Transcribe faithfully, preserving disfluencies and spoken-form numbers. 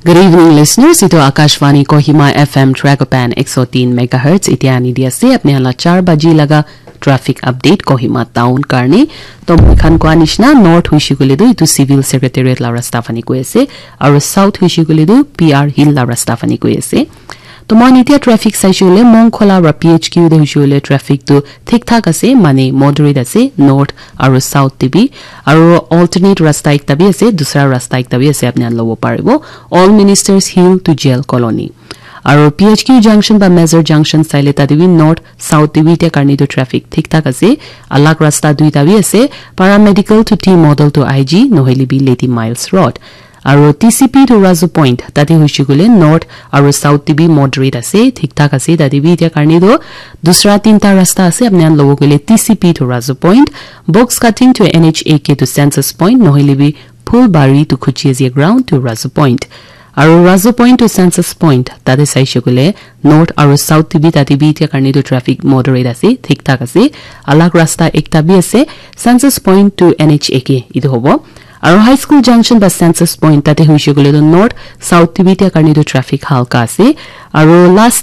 Good evening, listeners. Itu Akashvani Kohima F M Tragopan ek so tin megahertz. Itia ani di ase apni hala char baji laga traffic update Kohima town karne. To moi khan koa nishina north huishi kule tu itu civil secretariat la rasta fani koi ase. Aru south huishi kule tu P R Hill la rasta fani koi ase. To moi itia traffic saishe kule Mongkhola ra P H Q de huishi kule traffic tu thik thak ase, mane moderate ase, north aru south te bi. Aru alternate rasta ekta bi ase, dusra rasta ekta bi ase, apni khan lobo paribo. All Ministers Hill to Jail Colony. Aru P H Q junction ba Major junction saile tate bi north south te bi itia karne tu traffic thik thak ase. Alag rasta duita bi ase, Paramedical to T Model to I G, nohoile bi Lady Miles Road. Aru T C P to Razu Point, tate huishi kule north aru south te bi moderate ase, thik thak ase, tate bi itia karne tu dusra tinta rasta ase, apni khan lobo kule T C P to Razu Point, Box Cutting to N H A K to Census Point, nohoile bi Phulbari to Khuchiazi ground to Razu Point. Aru Razu Point to Census Point, tate saishe kule north aru south te bi tate bi itia karne tu traffic moderate ase, thik thak ase. Alag rasta ekta bi ase, Census Point to N H A K itu hobo. Aru High School Junction ba Census Point tate huishi kule tu north south te bi itia karne tu traffic halka ase. Aru last